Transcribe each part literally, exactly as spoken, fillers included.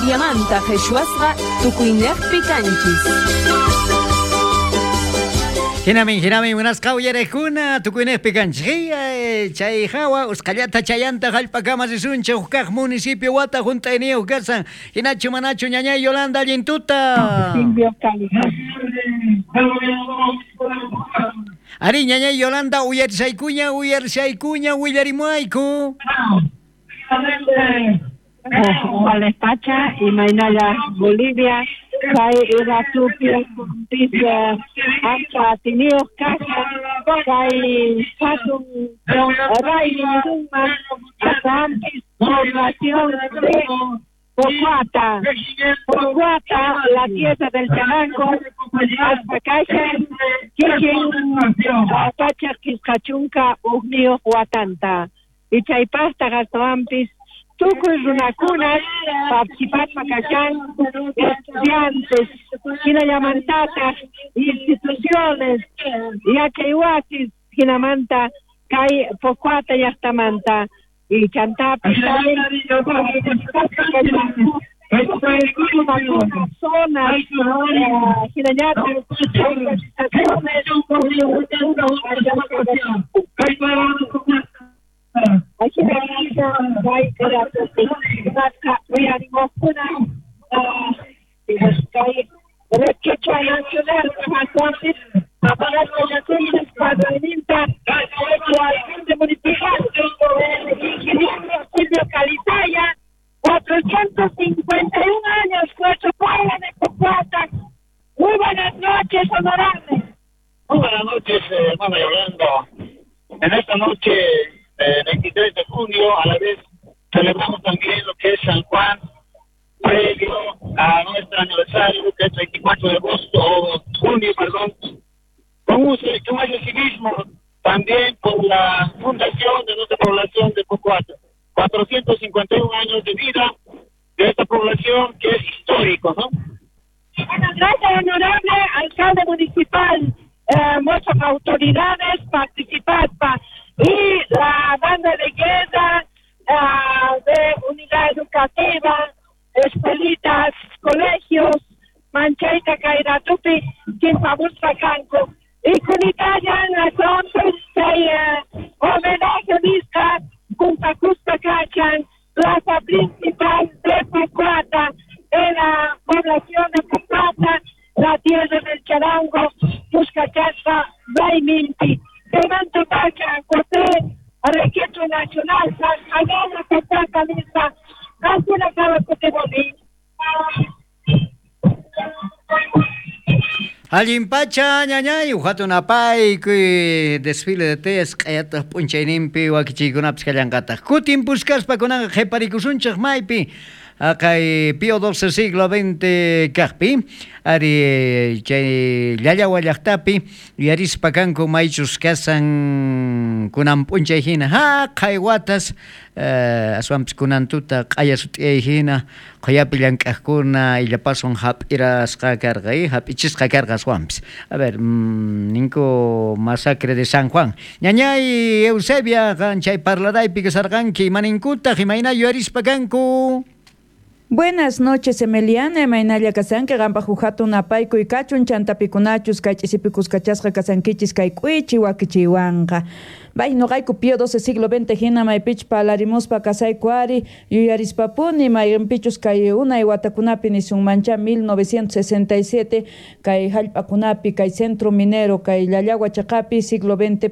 Boliviamanta qhichwasqa tukuyniyaqpi kanchis. Hinamin, hinamin, munasqa uyariqkuna tukuyniyaqpi kanchis. Chay hawa usqallata chayanta hallp'akama risunchik huk municipio wata hunt'ayniyuq kasan. Hinachu manachu ñañay Yolanda allin tuta. Ari ñañay Yolanda uyarisaykuña uyarisaykuña willarimuayku. Pacha imaynalla Bolivia kay iratupi pis ancha atiniyuq kashan kay hatun raymi nisunman astawanpis población de Pocoata, Pocoata, la tierra del charango, hasta kashan kikin pachak qisqachunka hukniyuq watanta y chaypaqtaq astawanpis tukuy runakunas participaspa kashan estudiantes hinallamantataq instituciones yachaywasis hinamanta kay Pocoata llaqtamanta y chantapis zonas hinallataq organizaciones. cuatrocientos cincuenta y un años, nuestro pueblo de Pocoata. Muy buenas noches, honorable. Muy buenas noches, hermana Yolanda. En esta noche, eh, veintitrés de junio, a la vez celebramos también lo que es San Juan, previo a nuestro aniversario, que es veinticuatro de agosto, o junio, perdón, con un, con ese civismo también por la fundación de nuestra población de Pocoata. cuatrocientos cincuenta y un años de vida de esta población que es histórico, ¿no? Bueno, gracias, honorable alcalde municipal, eh, muchas autoridades participaron y la banda de guerra, uh, de unidad educativa, escuelitas, colegios, Manchaita, Kairatupi, Chimpabuspa, Canco. Y Kunitayan, la homenaje nisqa, Cumpacuspa, Cachan, plaza principal de Pocoata, en la población de Pocoata, la tierra del charango, Puscachaspa, Rayminti. Levanto Pacha, José, Registro Nacional, San Pocoata, Lisa, Casuna Cabo. Allin pacha ñañay hatun apaykuy desfile de teyas q'ayataq p'unchayninpi wakichiykunapis kallanqataq. Kutin puskaspa kunanqa qhiparikusunchik maypi kay Pío doce siglo veinte kaqpi ari chay Llallawa llaqtapi yuyarispa kanku maychus kasan kunan p'unchay hina haqay watas aswanpis kunan tuta q'aya sut'iyay hina qhuyapi llank'aqkuna illapaswan hap'irasqa karqa hap'ichisqa karqa aswanpis. A ver, mmm, ninku masacre de San Juan. Ñañay Eusebia qan chay parlaraypi kasarqanki imaninkutaq imayna yuyarispa kanku. Buenas noches, Emeliana, imaynalla kasanki, qanpaq huk hatun apaykuy kachun, chantapikunachus, kay ch'isipikus kachasqa kasankichis, kay k'uichi wakichiywanqa. Bay noqayku Pío doce siglo veinte hina maypich palarimuspa kasayku ari yuyarispapuni mayqinpichus kay unay watakunapi nisunmancha mil novecientos sesenta y siete kay hallp'akunapi kay centro minero kay Llallagua chaqapi siglo veinte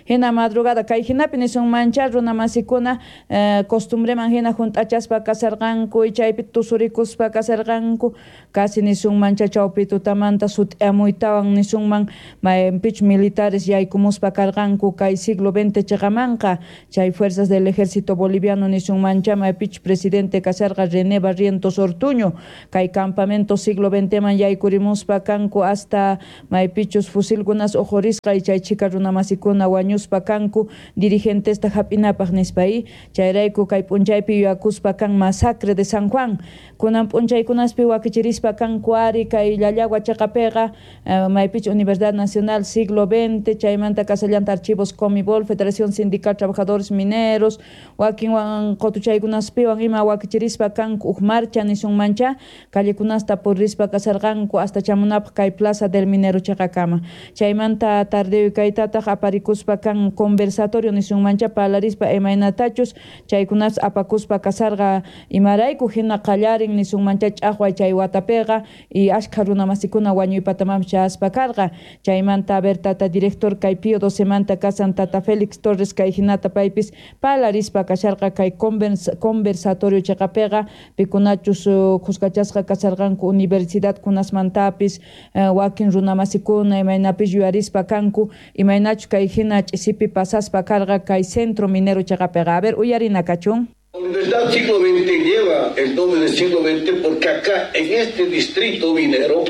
hina madrugada kay hinapi nisunmancha runamasikuna eh, costumbreman hina hunt'achaspa kasarqanku chaypi tusurikuspa kasarqanku casi nisunmancha chawpi tutamanta sut'amuytawan nisunman maypich militares yaykumuspa karqanku kay siglo veinte chaqamanqa chay fuerzas del ejército boliviano nisunmancha maypich presidente kasarqa René Barrientos Ortuño kay campamento siglo veinte man yaykurimuspa kanku hasta maypichus fusilkunas ujurisqa y chay chika runamasikuna wañuspa kanku dirigentesta hap'inapaq nispa y chayrayku kay p'unchaypi yuyakuspa kan masacre de San Juan kunan p'unchaykunaspi wakichirispa kanku ari kay Llallagua chaqapiqa uh, maypich Universidad Nacional siglo veinte chaymanta kasallanta archivos Comibol Sol, Federación Sindical Trabajadores Mineros, wakinwan qotuchaykunaspiwan ima wakichirispa kanku uj marcha nisunmancha callekunasta purispa kasarqanku hasta chamunapaq kay Plaza del Minero chaqakama. Chaymanta tardeo kaytataq aparikuspa kan conversatorio nisunmancha parlarispa imaynatachus chaykunas apakuspa kasarqa imarayku hina qallarin nisunmancha ch'aqway chay watapiqa y ashkha runamasikuna wañuypatamam chaspa karqa. Chaymanta a ver tata director kay Pío docemanta kasan tata Félix Torres kay hinata paypis parlarispa kasharqa kay conversatorio chaqapiqa pikunachus khuskachasqa kasarqanku universidad kunasmantapis wakin runamasikuna imaynapis yuyarispa kanku imaynachus kay hina ch'isipi pasaspa karqa kay centro minero chaqapiqa. A ver, uyarina kachun. La Universidad Siglo veinte lleva el nombre del siglo veinte porque acá, en este distrito minero,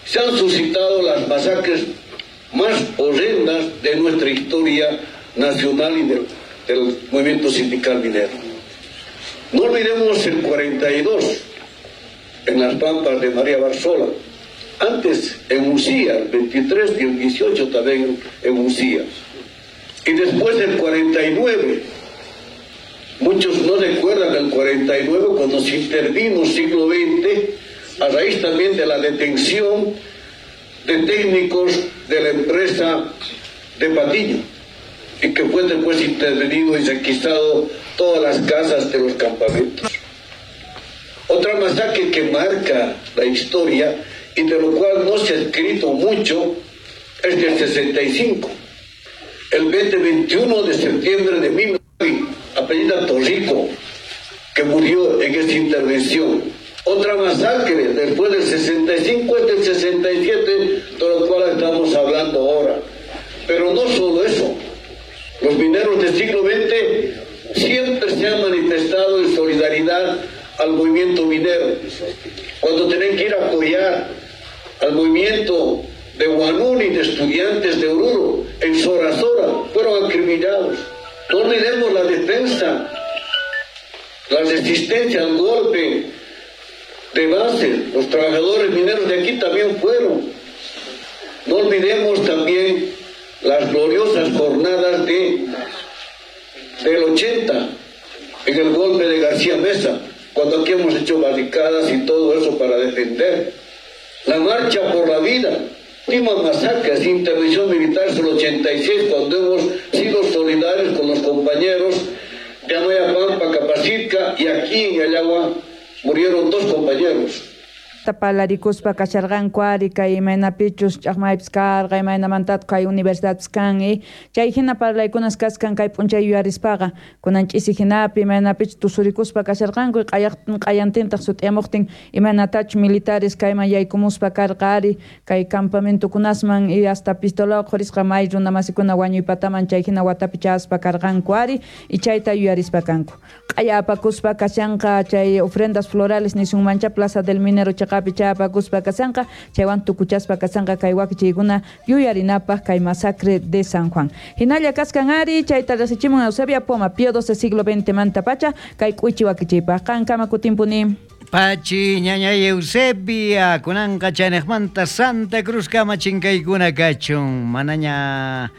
se han suscitado las masacres más horrendas de nuestra historia nacional y del, del movimiento sindical minero. No olvidemos el cuarenta y dos, en las pampas de María Barzola, antes en Ucía, el veintitrés y el dieciocho también en Ucía. Y después del cuarenta y nueve, muchos no recuerdan el cuarenta y nueve cuando se intervino siglo veinte, a raíz también de la detención de técnicos de la empresa de Patiño, y que fue después intervenido y requisado todas las casas de los campamentos. Otra masacre que marca la historia y de lo cual no se ha escrito mucho es del sesenta y cinco. El veinte veintiuno de septiembre de mil novecientos, apellida Torrico, que murió en esta intervención. Otra masacre después del sesenta y cinco es del sesenta y siete, de lo cual estamos hablando ahora. Pero no solo eso, los mineros del siglo veinte siempre se han manifestado en solidaridad al movimiento minero. Cuando tienen que ir a apoyar al movimiento de Huanuni, de estudiantes de Oruro, en Sora Sora, fueron acribillados. No olvidemos la defensa, la resistencia al golpe de base. Los trabajadores mineros de aquí también fueron. No olvidemos también las gloriosas jornadas de, del ochenta, en el golpe de García Mesa, cuando aquí hemos hecho barricadas y todo eso para defender. La marcha por la vida, última masacre, intervención militar es el ochenta y seis, cuando hemos sido solidarios con los compañeros de Amayapampa, Capacitca, y aquí en Llallagua murieron dos compañeros. Palarikuspa kasharqanku ari kay imaynapichus ch'aqmaypis karqa imaynamantataq kay universidadpis kan chay hina parlaykunas kaskan kay p'unchay yuyarispaqa kunan ch'isi hinapi imaynapichus tusurikuspa kasharqanku q'ayantintaq sut'iyamuqtin imaynatachus militares kayman yaykumuspa karqa ari kay campamentokunasman y hasta pistolawan qhurisqa may runamasikuna wañuypataman chay hina watapi chaspa karqanku ari y chayta yuyarispa kanku. Q'aya apakuspa kashanqa chay ofrendas florales nisunmancha Plaza del Minero chaqapi chapakuspa kasanqa chaywan tukuchaspa kasanqa kay wakichiykuna yuyarinapaq kay masacre de San Juan. Hinalla kaskan ari chayta rasichimun Eusebia Poma Pío doce siglo veinte manta pacha kay k'uichi wakichiypaq qankama kutinpuni. Pachi ñaña Eusebia kunanqa chaynejmanta Santa Cruz kama chinkaykuna kachun manaña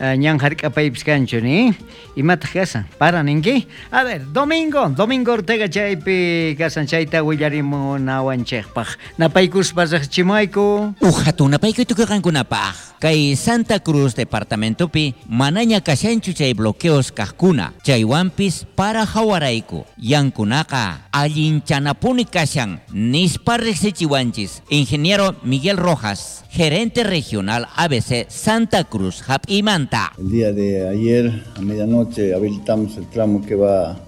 ñan jark'apaypis kanchu ni imataq kasan para ninki. A ver, Domingo Domingo Ortega chaypi kasan chayta willarimunawanchikpaq napaykuspa riqchimayku. Uj hatun napaykuy tukuy qankunapaq kay Santa Cruz departamentopi manaña kashanchu chay bloqueos kaqkuna chaywanpis para hawarayku yankunaqa allinchanapuni kashan nispa riqsichiwanchis ingeniero Miguel Rojas, gerente regional A B C Santa Cruz hap'imanta. El día de ayer a medianoche habilitamos el tramo que va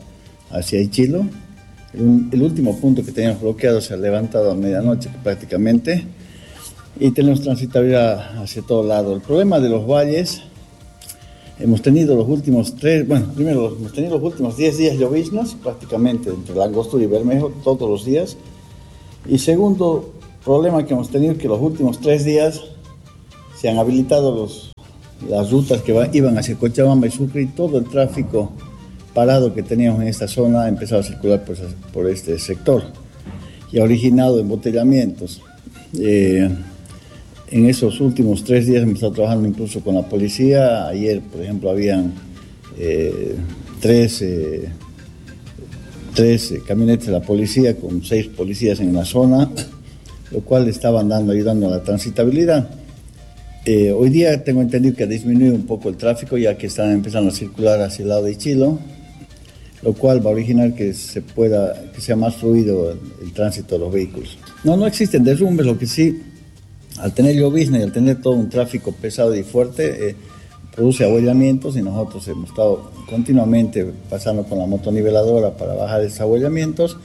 hacia Ichilo. El, el último punto que teníamos bloqueado se ha levantado a medianoche prácticamente y tenemos transitabilidad hacia todo lado. El problema de los valles, hemos tenido los últimos tres, bueno, primero hemos tenido los últimos diez días lloviznas prácticamente entre la Angostura y Bermejo todos los días. Y segundo problema que hemos tenido, que los últimos tres días se han habilitado los las rutas que va, iban hacia Cochabamba y Sucre, y todo el tráfico parado que teníamos en esta zona ha empezado a circular por, por este sector y ha originado embotellamientos. Eh, En esos últimos tres días hemos estado trabajando incluso con la policía. Ayer, por ejemplo, habían eh, tres, eh, tres camionetas de la policía con seis policías en la zona, lo cual estaban dando, ayudando a la transitabilidad. Eh, hoy día tengo entendido que ha disminuido un poco el tráfico, ya que están empezando a circular hacia el lado de Ichilo, lo cual va a originar que se pueda, que sea más fluido el, el tránsito de los vehículos. No, no existen derrumbes, lo que sí, al tener llovizna y al tener todo un tráfico pesado y fuerte, eh, produce ahuellamientos, y nosotros hemos estado continuamente pasando con la motoniveladora para bajar esos ahuellamientos,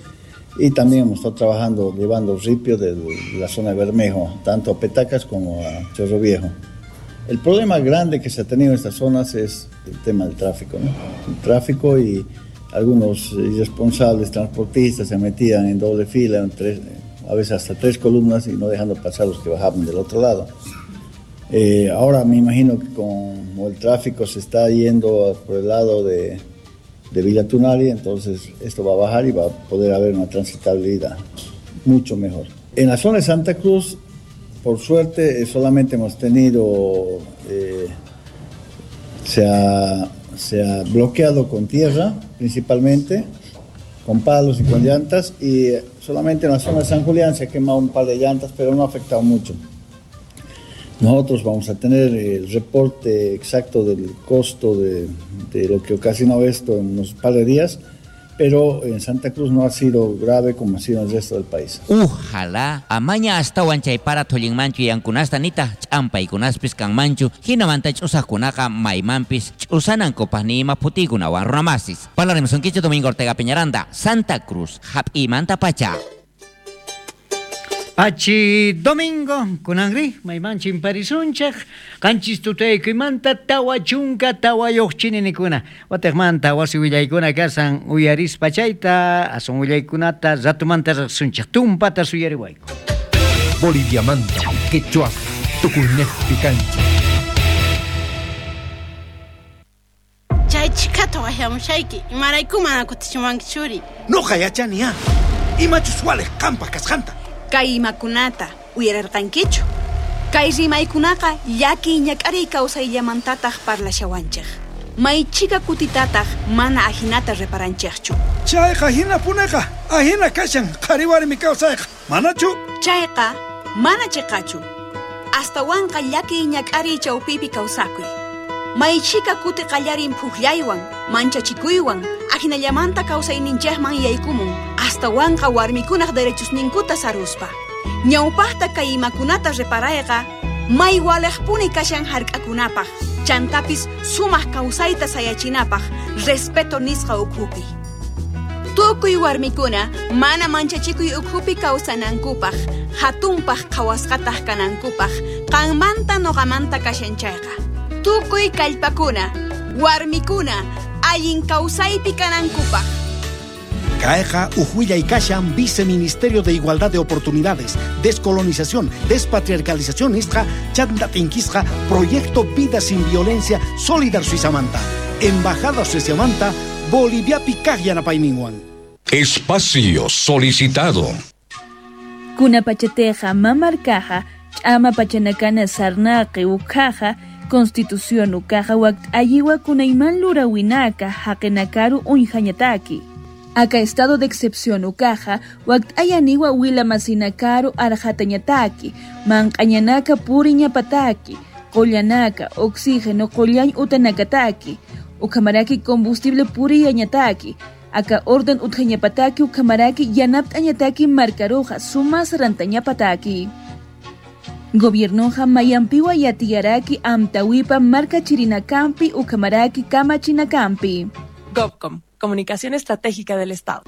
y también hemos estado trabajando, llevando ripio de la zona de Bermejo, tanto a Petacas como a Chorro Viejo. El problema grande que se ha tenido en estas zonas es el tema del tráfico, ¿no? El tráfico, y algunos irresponsables transportistas se metían en doble fila, en tres, a veces hasta tres columnas, y no dejando pasar los que bajaban del otro lado. Eh, ahora me imagino que como el tráfico se está yendo por el lado de, de Villa Tunari, entonces esto va a bajar y va a poder haber una transitabilidad mucho mejor. En la zona de Santa Cruz, por suerte, solamente hemos tenido, eh, se ha, se ha bloqueado con tierra, principalmente, con palos y con llantas, y solamente en la zona de San Julián se ha quemado un par de llantas, pero no ha afectado mucho. Nosotros vamos a tener el reporte exacto del costo de, de lo que ocasionó esto en unos par de días, pero en Santa Cruz no ha sido grave como ha sido en el resto del país. Ojalá amaña astawan chay para thullinmanchu yankunasta nitaq ch'ampaykunaspis kanmanchu, hinamanta ch'usaqkunaqa maymanpis ch'usanankupaq ni ima phutiykunawan runamasis. Parlarimusunkichik Domingo Ortega Peñaranda, Santa Cruz, hap'imanta pacha. Pachi Domingo, kunanri, mayman chimparisunchaq, qanchis tutaykuymanta tawa chunka tawayuq chininikuna. Wataqmanta wasi willaykuna kasan uyarispa chayta, asun willaykunata ratumanta riqsunchaq, tumpata suyariwayku. Boliviamanta, quechua, tukuynejpi kanchik. Chay chikata waqyamushayki, imarayku mana kutichiwanki churi. Nuqa yachaniya, imachus waliq qampaq kasqanta. Kay imakunata uyararqankichu. Kay rimaykunaqa llaki ñak'ariy kawsayllamantataq parlashawanchik. Maychika kutitataq mana ajinata reparanchikchu. Chayqa hinapunaqa ajina kashan qhari warmi kawsayqa, manachu? Chayqa mana chiqachu. Astawanqa llaki ñak'ariy chawpipi kawsakuy. Maychika kuti qallarin phuqllaywan, manchachikuywan, ajinallamanta kawsayninchikman yaykumun, astawanqa warmikunaq derechosninkuta saruspa. Ñawpaqta kay imakunata reparayqa, may waliqpuni kashan hark'akunapaq, chantapis sumaq kawsayta sayachinapaq, respeto nisqa ukhupi. Tukuy warmikuna mana manchachikuy ukhupi kawsanankupaq, hatunpaq qhawasqataq kanankupaq, qanmanta nuqamanta kashan chayqa. Tukuy kallpakuna, warmikuna, allin kawsaypi kanankupaq. Kayqa uj kashan Viceministerio de Igualdad de Oportunidades, Descolonización, Despatriarcalización nisqa, chanta tinkisqa, Proyecto Vida Sin Violencia, Solidar Suizamanta, Embajada Suizamanta, Boliviapi kaq yanapayninwan. Espacio solicitado. Kuna pachateja mamarkaja, ch'ama pachanakana sarnaqi ukhaja, Constitución ukaja wakt ayiwa kunayman lurawinaka haqinakaru uñjañataki. Acá estado de excepción ukaja wakt ayaniwa wilamasinakaru arjatañataki, manqañanaka puriñapataki, qollanaka, oxígeno qollañ utanakataki, ukamaraki combustible puriyañataki, acá orden utjañapataki ukamaraki yanaptañataki marcaroja sumas rantañapataki. Gobiernoja mayampiwa yatiyaraki amtawipa marca chirinakampi ukamaraki kama chinacampi. GovCom, Comunicación Estratégica del Estado.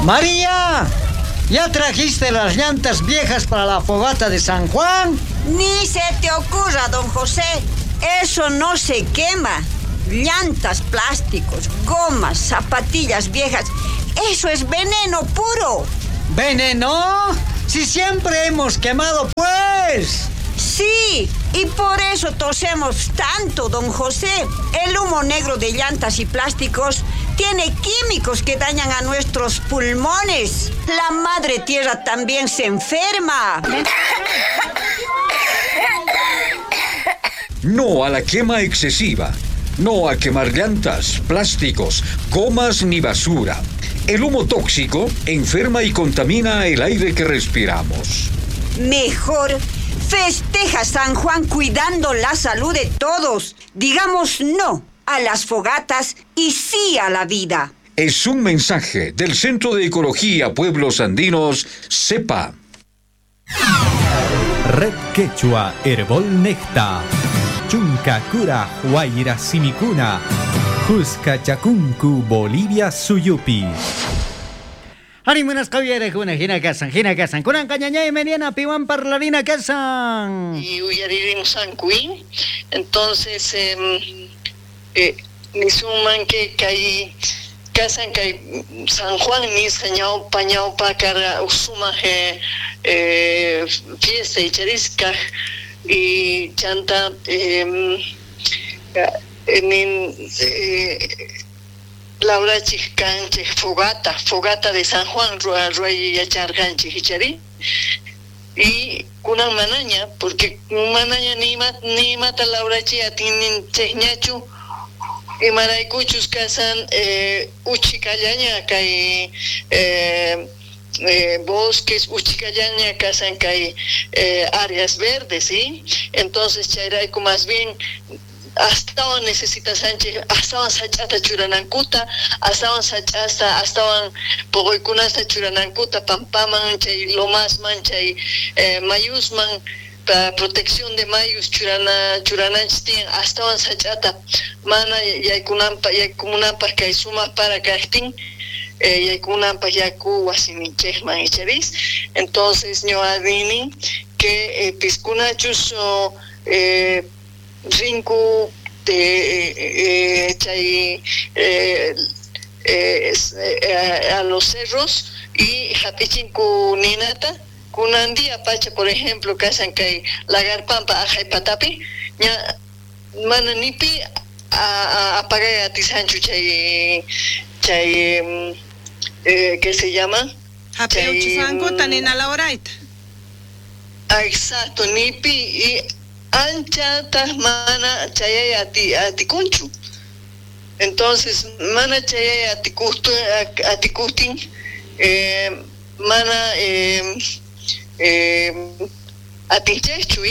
María, ¿ya trajiste las llantas viejas para la fogata de San Juan? Ni se te ocurra, don José. Eso no se quema. Llantas, plásticos, gomas, zapatillas viejas. Eso es veneno puro. ¿Veneno? Si siempre hemos quemado, pues. Sí, y por eso tosemos tanto, don José. El humo negro de llantas y plásticos Tiene químicos que dañan a nuestros pulmones. La madre tierra también se enferma. No a la quema excesiva. No a quemar llantas, plásticos, gomas ni basura. El humo tóxico enferma y contamina el aire que respiramos. Mejor festeja San Juan cuidando la salud de todos. Digamos no a las fogatas y sí a la vida. Es un mensaje del Centro de Ecología Pueblos Andinos, CEPA. Red Quechua Herbol Necta. Chunka Kura Huayra Simikuna. Cusca Chacuncu, Bolivia Suyupi. Arimunas qawiyarakuna hina kasan, hina kasan. Kunanqa ñañay Meriana piwan parlarina kasan. Y uyaririmus ankuin. Entonces, eh, eh, nisuman que kay kasan kay San Juan nisqa ñawpa ñawpa karqa sumaq eh, fiesta icharisqa y chanta eh, nin eh, laurachik kanchik fogata, fogata de San Juan ruay yacharqanchik ichari y kunan manaña porque manaña nima nimata laurachi atinninchikñachu imaraykuchus kasan eh, uchikallaña kay eh, eh, bosques uchikallaña kasan kay eh, áreas verdes, ¿sí? Entonces chayrayku más bien astawan necesitasanchik astawan sach'ata churanankuta astawan sach'asta astawan poqoykunasta churanankuta pampaman chay lomasman chay eh, mayusman pa protección de mayus churana churananchik tiyan astawan sach'ata mana yaykunanpaq yaykumunanpaq kay sumaq para kaqtin eh, yaykunanpaq yaku wasininchikman icharis. Entonces ñuqa nini que eh, piskunachus o, eh, rinku de eh, chay eh, eh, eh, a los cerros y hapichinku ninata kunandia pacha por ejemplo kasan kay Lagarpampa ajay patapi ña mana nipi a apagay atisanchu chay chay eh, que se llama hapiuchisankuta nina laurayta. Exacto, nipi y ancha mana chayay ati atikunchu. Entonces mana chayay atikustu atikustin eh, mana eh, eh, atinchaychu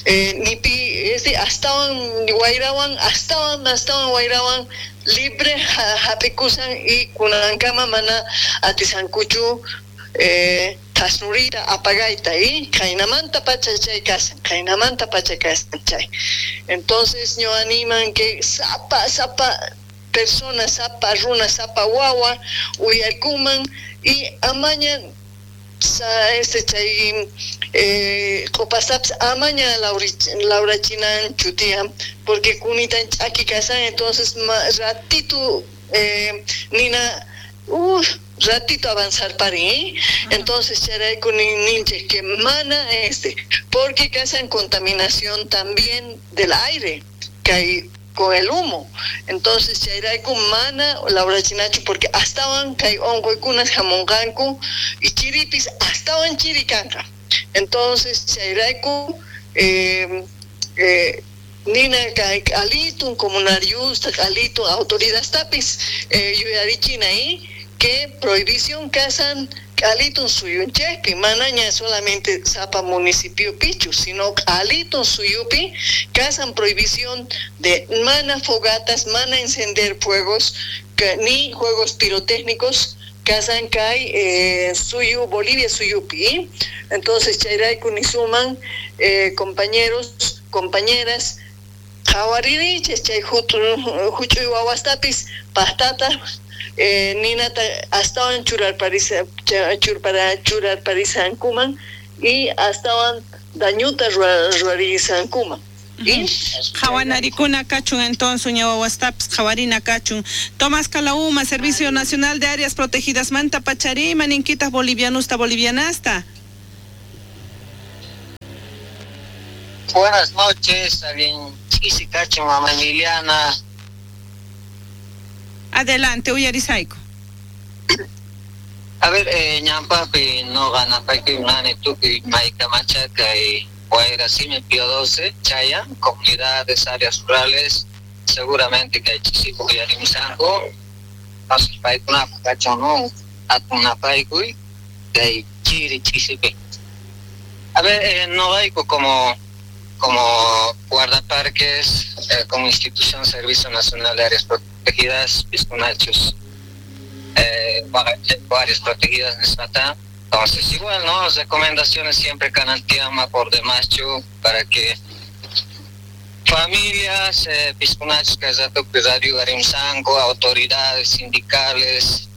eh, nipi este astawan wayrawan astawan astawan wayrawan libre hapikusan y kunankama mana atisankuchu eh, tasnurita apagayta y kaynamanta pacha chay kasan kaynamanta pacha kasan chay. Entonces ño animan que sapa sapa persona sapa runa sapa wawa uyarkuman y amaña sa este chay eh qopasaps amaña laurachinan chutiam porque kunitan ch'aki kasan. Entonces ma, ratito eh, nina uh, ratito avanzar parin, ¿eh? Entonces chayrayku ninchik que mana este porque causan contaminación también del aire que hay con el humo. Entonces chayrayku mana laurachinachu porque astawan kay onquykunas hamunqanku y chiripis astawan chirikanqa. Entonces chayrayku eh, eh, nina kay alitun comunariusta alitun autoridadtapis eh, yuyarichina ¿eh? Que prohibición kasan alitun suyunchikpi manaña solamente sapa municipio pichu sino alitun suyupi kasan prohibición de mana fogatas mana encender fuegos que, ni juegos pirotécnicos kasan kay eh, suyu Bolivia suyupi, ¿eh? Entonces chayrayku nisuman eh, compañeros compañeras qhawaririchis chay huch'uy wawastapis paqtata eh, ninata astawan churarparisa churpara churarparisankuman y astawan dañuta ruwarisankuman. Qhawanarikuna kachun entonces ñawawastapis qhawarina kachun. Tomás Calauma, Servicio Nacional de Áreas Protegidas manta pacharima ninkitas bolivianusta bolivianasta. Buenas noches, alguien chisi kachun mama Emiliana. Adelante, uyarisayku. A ver, eh, ñampapi no ganapaykuy nani tukuy maykamacha kay Guairasimi Pío doce, Chaya, comunidades, áreas rurales, seguramente que hay chisipo uyarimusanku, entonces paykunapaq kachun no atunapaykuy kay chiri chisipi. A ver, eh, noqayku como como guardaparques, eh, como institución Servicio Nacional de Áreas Protegidas, piskunachus, eh, áreas protegidas nisqata. Entonces igual, ¿no? Recomendaciones siempre canantiama por demás chu para que familias, eh, piskunachus kay ratopi radio uyarimsanku, autoridades sindicales,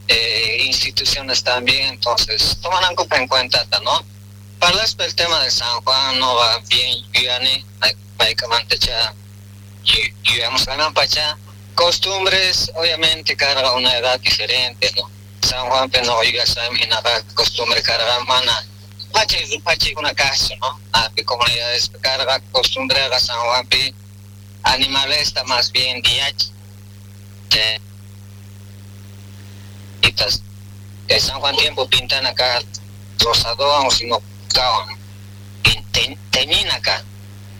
eh, instituciones también, entonces toman en cuenta, ¿no? Para el tema de San Juan no va bien, yuyani, maykamantacha, yuyamos gananpacha. Costumbres, obviamente, carga una edad diferente, ¿no? San Juan, pero no, yuyasam, hinaqa costumbre carga mana, pachi, pachi una casa, ¿no? A comunidades carga costumbre a San Juan, pi, animales está más bien D H. De San Juan tiempo pintan acá rosadón o si no teñin acá.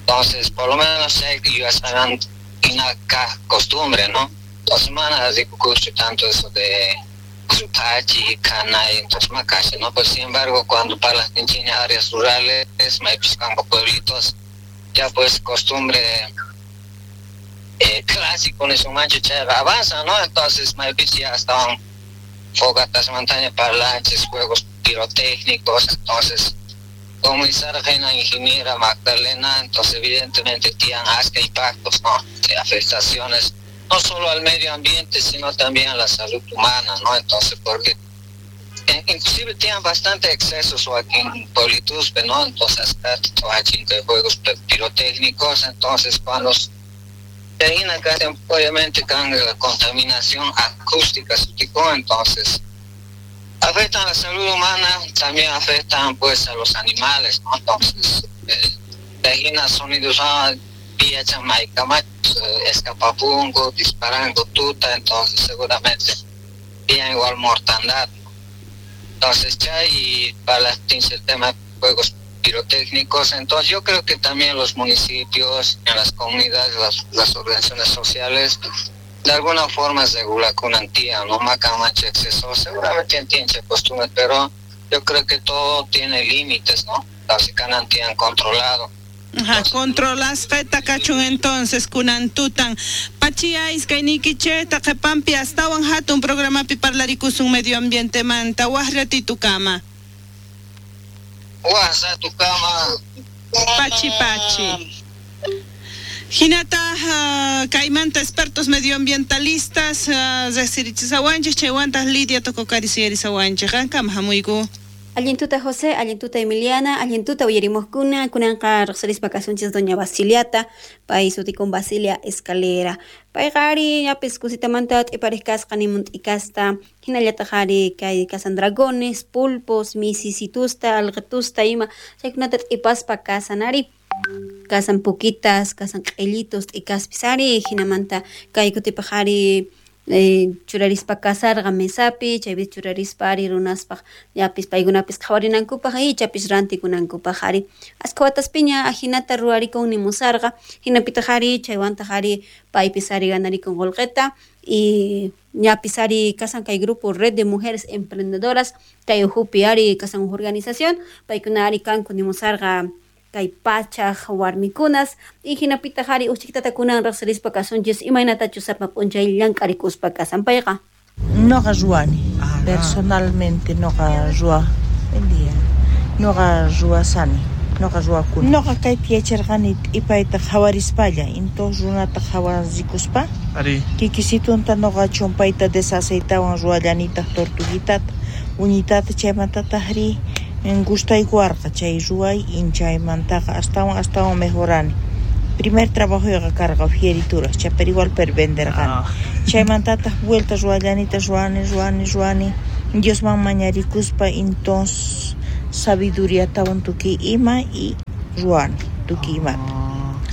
Entonces, por lo menos sé que yo estaban en acá costumbre, ¿no? Dos semanas de curso tanto eso de Supachi, Canay, entonces Macacha, ¿no? Pues sin embargo, cuando para las áreas rurales, campo pueblitos, ya pues costumbre eh, clásico en su mancho avanza, ¿no? Entonces, ya estaban fogatas, montaña, parlantes, juegos pirotécnicos, entonces como la ingeniera Magdalena, entonces evidentemente tienen asca impactos, ¿no? De afectaciones, no solo al medio ambiente, sino también a la salud humana, ¿no? Entonces, porque inclusive tienen bastante excesos aquí en Pueblituspe, ¿no? Entonces, de juegos pirotécnicos, entonces cuando acá, obviamente, la contaminación acústica, entonces afectan a la salud humana, también afectan pues a los animales, ¿no? Entonces, eh, sonidos, ah, escapapungo, disparando tuta, entonces seguramente tienen igual mortandad, ¿no? Entonces, ya y para la, el tema de juegos pirotécnicos, entonces yo creo que también los municipios, en las comunidades, las, las organizaciones sociales, de alguna forma regula con antía, no maca mancha exceso, seguramente tiene costumbre, pero yo creo que todo tiene límites, ¿no? Así que han controlado. Ajá, controlas feta kachun entonces kunantutan pachiais kaynikiche taqepampi astawan hatun programapi parlarikusun medio ambiente manta waqratitukama. Waqratukama. Pachi pachi. Hinata uh, kaymanta expertos medioambientalistas uh, riqsirichisawanchik chaywantaj Lidia Tococarisiyarisawanchik qankama hamuyku. Allintuta José, allintuta Emiliana, allintuta uyarimuqkuna, kunanqa riqsirispa kasunchis doña Basiliata, pay sutikun Basilia Escalera. Payqa ari ñapis kusitamanta t'iparej kasqa nimun t'ikasta, hinallataq ari kay kasan dragones, pulpos, misisitusta, alqitusta ima, chaykunata t'ipaspa kasan ari. Kasan pukitas, kasan q'illitos, t'ikaspis ari, hinamanta kay kutipaq ari eh, churarispa kasarqa mesapi, chaypi churarispa ari runaspaq llapis paykunapis qhawarinankupaq ichapis rantikunankupaq ari. Askha wataspiña ajinata ruwarikun nimusarqa, hinapitaq ari chaywantaq ari paypis ari ganarikun qullqita y ñapis ari kasan kay grupo Red de Mujeres Emprendedoras, kay uhupi ari kasan uj organización, paykuna ari kanku nimusarqa kay pachaj warmikunas y hinapitaq ari uchikitata kunan riqsirispa kasunchis imaynatachus sapa p'unchay llank'arikuspa kasan payqa. Noqa ruwani, personalmente noqa ruwa, buen día. Noqa ruwasani, noqa ruwakuni. Noqa kaypi yacharqani t'ipayta qhawarispalla, entonces runata qhawarikuspa kikisitunta noqa chumpayta desaceitawan ruwallanitaq tortuguitata, uñitata chaymantataq ri gustaykuwarqa chay ruway inchaymantaqa astawan astawan mejorani. Primer trabajoyqa karqa fierituras, chaypari igual per venderqani. Ah. Chaymantataq vuelta ruwallanita ruwani ruwani ruwani Diosman mañarikuspa entonces sabiduriatawan tukuy ima y ruwani tukuy imata.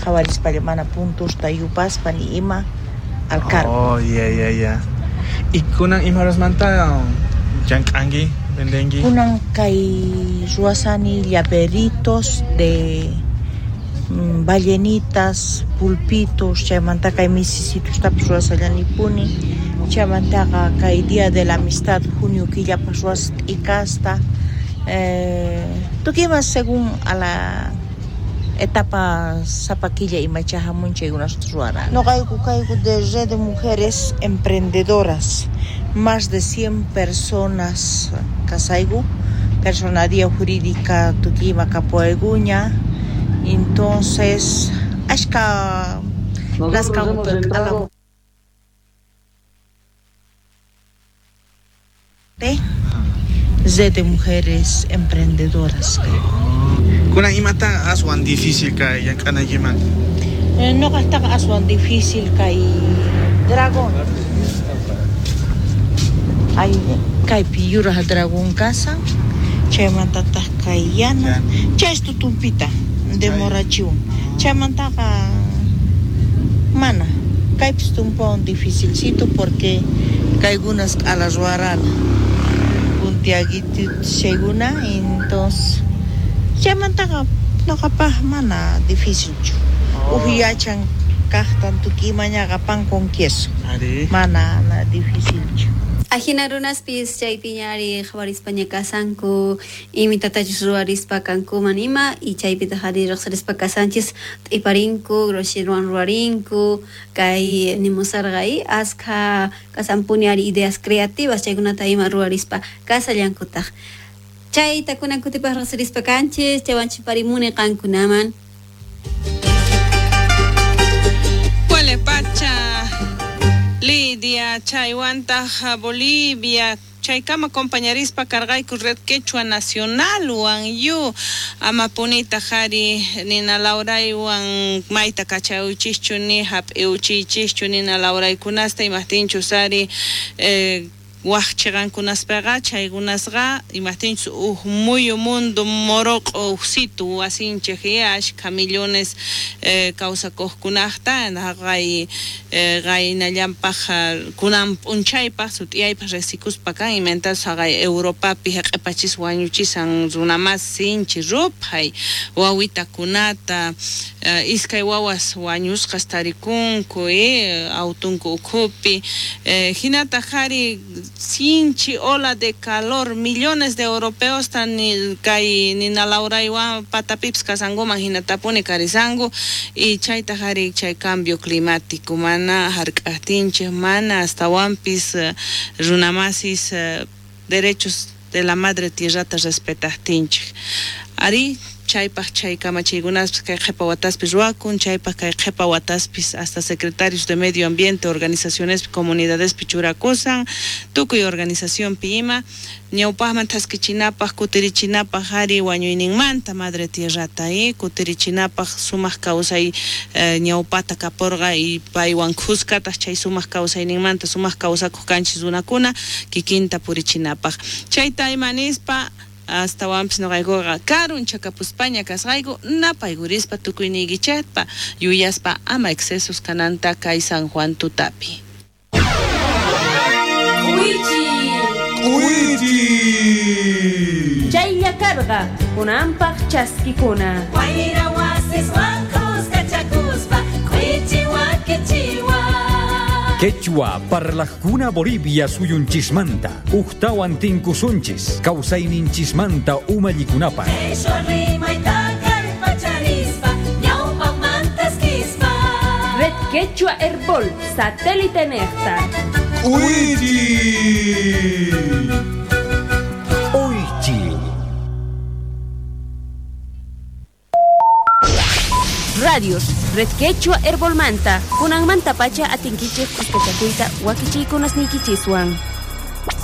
Qhawarispalla mana puntusta yupaspa ni ima al cargo. Oh, ya, ya, ya. Y kunan imarasmanta llank'anki, vendenki? Kunan kay ruwasani llaveritos de mm, ballenitas, pulpitos, chaymanta kay misisitostapis ruwasallanipuni, chaymantaqa kay Día de la Amistad junio killapas ruwas t'ikasta, eh, tukuy ima según a la etapa sapa killa imacha hamun chaykunasta ruwarani. Noqayku kayku de Red de Mujeres Emprendedoras, más de cien personas kasayku, personalidad jurídica tukuy ima kapuwaykuña, entonces ashka Nosotros hemos entrado Red de Mujeres Emprendedoras. Kunan imata aswan difícil kay llank'anaykimanta? Eh, noqajtaqa aswan difícil kay dragón. Ay, kaypi yuraj dragón kasan, chaymantataq kay yana, chay tutumpita demorachiwan. Chaymantaqa mana, kaypis tumpuwan dificilcito porque kaykunas q'ala ruwarana. Puntiaguito chaykuna, entonces chaymantaqa noqapaj mana dificilchu. Uj yachan kajtan tukuy imañaqa pan con queso. Mana, mana dificilchu. Ajina runaspis chaypiña ari qhawarispaña kasanku, imitatachus ruwarispa kankuman ima, y chaypitaq ari riqsirispa kasanchis t'iparinku, grosheruan ruwarinku, kay nimusarqa y askha kasanpuni ari ideas creativas chaykunata ima ruwarispa kasallankutaq. Chayta kunan kutipaq riqsirispa kanchis, chaywanchis parimuni qankunaman. Pacha Lidia, chaywantaj Bolivia, chaykama compañerispa karqayku Red Quechua Nacional wan yu amapunita jari nina lauraywan mayta kachawichischu ni hap'iwchiychischu nina lauraykunasta imajtinchus ari eh, waj chiqankunaspaqa chaykunasqa imajtinchus uj muyu mundo moroq'o ujsitu wasinchej ashkha millones eh, kawsakuqkunaqta haqay eh, qaynallanpaq kunan p'unchaypaq sut'iyaypaq riqsikuspa kan imantatus haqay Europapi haq'ipachis wañuchisan runamas sinchi ruphay wawitakunata eh, iskay wawas wañusqas tarikunku eh, autunku ukhupi eh, hinataq ari sinchi ola de calor, millones de europeos tan kay nina lauraywan patapipis kasankuman hinatapuni karisanku y chaytaq ari chay cambio climático mana hark'ajtinchej mana astawanpis uh, runamasis uh, derechos de la madre tierrata respetajtinchej ari chaypaq chay kamachiykunaspis kay qhipa wataspis ruwakun chaypaq kay qhipa wataspis hasta secretarios de medio ambiente organizacionespi comunidadespi churakusan tukuy organizacionpi ima ñawpaqman thaskichinapaq kutirichinapaq ari wañuyninmanta madre tierrata y kutirichinapaq sumaq kawsay eh, ñawpata kapurqa y paywan khuskataq chay sumaq kawsayninmanta sumaq kawsakuq kanchis runakuna kikinta purichinapaq chayta ima nispa astawanpis noqaykuqa karun chakapuspaña kasqayku napaykurispa tukuyniykichikpa yuyaspa ama excesos kananta kay San Juan tutapi. K'uychi! K'uychi! Chaylla karqa kunanpaq chaskikuna. Wayra wasiswan khuskachakuspa k'uychi wakichiwan. Quechua parlajkuna Bolivia suyunchismanta, ujtawan tinkusunchis, kawsayninchismanta umallikunapaq. Quechua rimayta kallpacharispa, ñawpaqmantaskispa. Red Quechua Herbol, satélite nejta. ¡Uichi! Uichi. Radios, Red Quechua Herbolmanta, kunanmanta pacha atinkichej kuskachakuyta wakichiykunasniykichiswan.